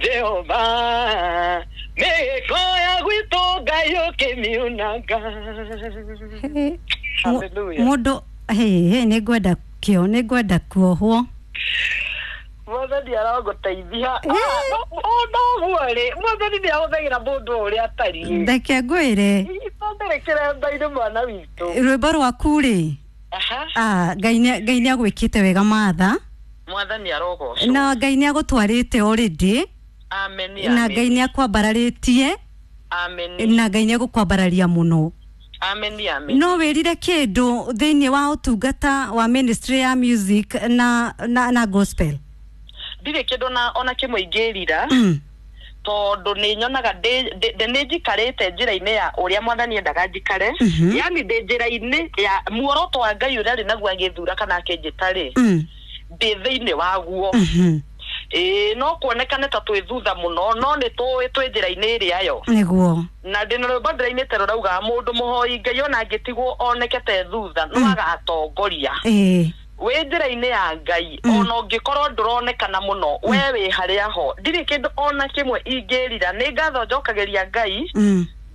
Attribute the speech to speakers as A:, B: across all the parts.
A: Jehova mĩhĩko ya gwitũ Ngai ũkĩmiunaga. Hallelujah.
B: Mũndũ hĩ nĩ ngwenda kĩo, nĩ ngwenda kuohwo.
A: Mwathani arogũteithia. Noguo rĩ, Mwathani nĩ ahũthagĩra mũndũ o ũrĩa atariĩ.
B: Reke ngwĩre.
A: Itondere kĩremba-inĩ mwana witũ.
B: Rwĩmbo rwaku rĩ,
A: Aha.
B: Ngai nĩ agwĩkĩte wega Martha.
A: Mwathani arogocwo.
B: Na Ngai nĩ agũtwarĩte already.
A: Amen.
B: Na Ngai nĩ akwambararĩtie.
A: Amen.
B: Na Ngai nĩ agũkwambararia mũno.
A: Amen, amen.
B: No wĩrire kĩndũ thĩinĩ wa ũtungata wa ministry ya music na gospel?
A: Ndirĩ kĩndũ na ona kĩmwe ingĩrira. Tondũ nĩ nyonaga nĩ njikarĩte njĩra-inĩ ya ũrĩa Mwathani endaga njikare. Yani ndĩ njĩra-inĩ ya muoroto wa Ngai ũrĩa arĩ naguo agĩthura kana akĩnjĩta rĩ, ndĩ thĩinĩ waguo. No kuonekane ta twĩ thutha mũno, no nĩ tũĩ twĩ njĩra-inĩ ĩrĩa yo.
B: Nĩguo.
A: Na ndĩ na rwĩmbo ndĩrainĩte rũrauga mũndũ mũhoi Ngai ona angĩtigwo oneke te thutha, no agatongoria. Wĩ njĩra-inĩ ya Ngai, ona ũngĩkorwo ndũronekana mũno, we wĩ harĩa ho. Ndirĩ kĩndũ ona kĩmwe ingĩrira, nĩ ngatho njokagĩria Ngai.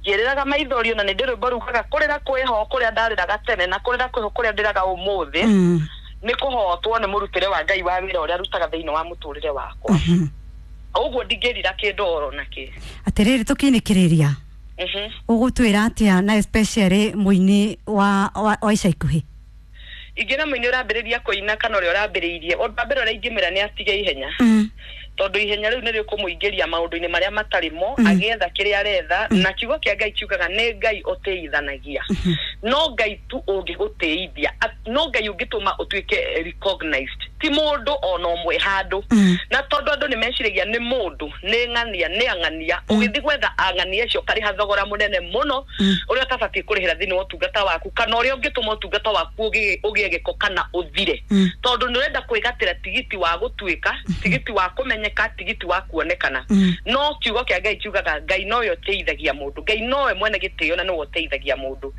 A: Ngĩrĩraga maithori ona nĩ ndĩ rwĩmbo rugaga kũrĩra kwĩho kũrĩa ndarĩraga tene na kũrĩra kwĩho kũrĩa ndĩraga ũmũthĩ. Nĩ kũhotwo nĩ mũrutĩre wa Ngai wa wĩra ũrĩa arutaga thĩinĩ wa mũtũrĩre wakwa. Ũguo ndingĩrira kĩndũ oro nakĩ.
B: Atĩrĩrĩ, tũkĩinĩkĩrĩria. Ũgũtwĩra atĩa na especially mũini wa ica ikuhĩ?
A: Ingĩra mũini ũrambĩrĩria kũina kana ũrĩa ũrambĩrĩirie, ũndũ wa mbere ũrĩa ingĩmwĩra nĩ atige ihenya. Tondũ ihenya rĩu nĩ rĩkũmũingĩria maũndũ-inĩ marĩa matarĩ mo, agĩetha kĩrĩa aretha, na kiugo kĩa Ngai kiugaga nĩ Ngai ũtĩithanagia. No Ngai tu ũngĩgũtĩithia, no Ngai ũngĩtũma ũtuĩke recognized, ti mũndũ ona ũmwe handũ. Na tondũ andũ nĩ meciragia nĩ mũndũ, nĩ ng'ania, nĩ ang'ania, ũgĩthiĩ gwetha ang'ania acio ũkarĩha thogora mũnene mũno, ũrĩa ũtabatiĩ kũrĩhĩra thĩinĩ wa ũtungata waku, kana ũrĩa ũngĩtũma ũtungata waku ũgĩe gĩko kana ũthire. Tondũ nĩ ũrenda kwĩgatĩra tigiti wa gũtuĩka, tigiti wa kũmenyeka, tigiti wa kuonekana. No kiugo kĩa Ngai kiugaga Ngai nowe ũteithagia mũndũ, Ngai nowe mwene gĩtĩo na nowe ũteithagia mũndũ.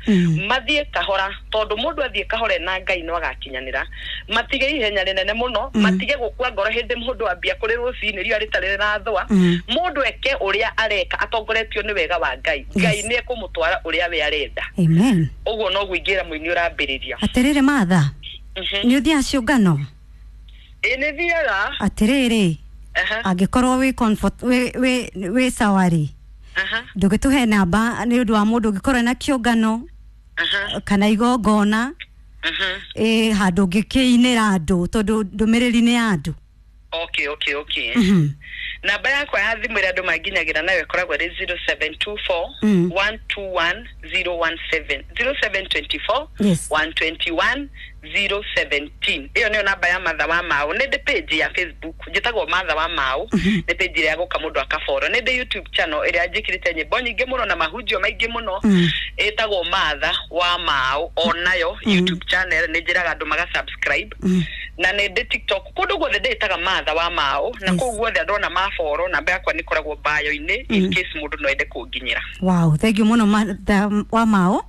A: Mathiĩ kahora, tondũ mũndũ athiĩ kahora na Ngai no agakinyanĩra. Matige ihenya rĩnene mũno, matige gũkua ngoro hĩndĩ mũndũ ambia kũrĩ rũcinĩ riũa rĩtarĩ rĩrathũa. Mũndũ eke ũrĩa areka atongoretio nĩ wega wa Ngai. Ngai nĩ ekũmũtwara ũrĩa we arenda.
B: Amen.
A: Ũguo noguo ingĩra mũini ũrambĩrĩria.
B: Atĩrĩrĩ Martha, nĩ ũthiaga ciũngano?
A: Ĩĩ nĩ thiaga.
B: Atĩrĩrĩ, angĩkorwo wĩ comfort, wĩ sawa rĩ, ndũgĩtũhe namba nĩ ũndũ wa mũndũ ũngĩkorwo na kĩũngano kana igongona, handũ ũngĩkĩinĩra andũ tondũ ndũmĩrĩri nĩ ya andũ.
A: Okay, okay, okay. Namba yakwa ya thimũ ĩrĩa andũ manginyagĩra nayo ĩkoragwo ĩrĩ 0724 121 017. 0724 121 017. Ĩyo nĩyo namba ya Martha wa Mau. Nĩ ndĩ page ya Facebook njĩtagwo Martha wa Mau, nĩ page ĩrĩa gũka mũndũ akafollow. Nĩ ndĩ YouTube channel ĩrĩa njĩkĩrĩte nyĩmbo nyingĩ mũno na mahunjio maingĩ mũno, ĩtagwo Martha wa Mau, onayo YouTube channel nĩ njĩraga andũ maga subscribe. Na nĩ ndĩ TikTok, kũndũ guothe ndĩtaga Martha wa Mau, na kũu guothe andũ ona mafollow, namba yakwa nĩ ĩkoragwo bio-inĩ in case mũndũ no ende kũnginyĩra.
B: Wow, thank you mũno Martha wa Mau.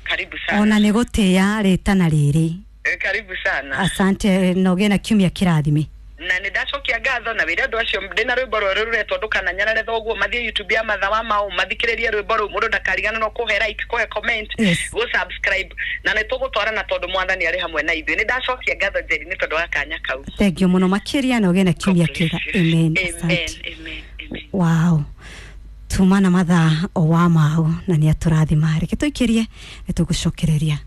A: Karibu sana.
B: Ona nĩ gũtĩĩa rĩtana rĩrĩ.
A: Karibu sana.
B: Asante, na ũgĩe na kiumia kĩrathime.
A: Na nĩ ndacokia ngatho na wĩre andũ acio ndĩna rwĩmbo rwerũ rũretwo ndũkananyarare thoguo, mathiĩ YouTube ya Martha wa Mau mathikĩrĩrie rwĩmbo rũu, mũndũ ndakariganĩrwo kũhe like, kũhe comment, gũ subscribe, na nĩ tũgũtwarana tondũ Mwathani arĩ hamwe na ithuĩ. Nĩ ndacokia ngatho Njeri nĩ tondũ wa kanya kau.
B: Thank you mũno makĩria, na ũgĩe na kiumia kĩega. Amen. Asante.
A: Amen, amen.
B: Wow. Tuma na Martha wa Mau na nĩ atũrathima. Reke tũikĩrie nĩ tũgũcokereria.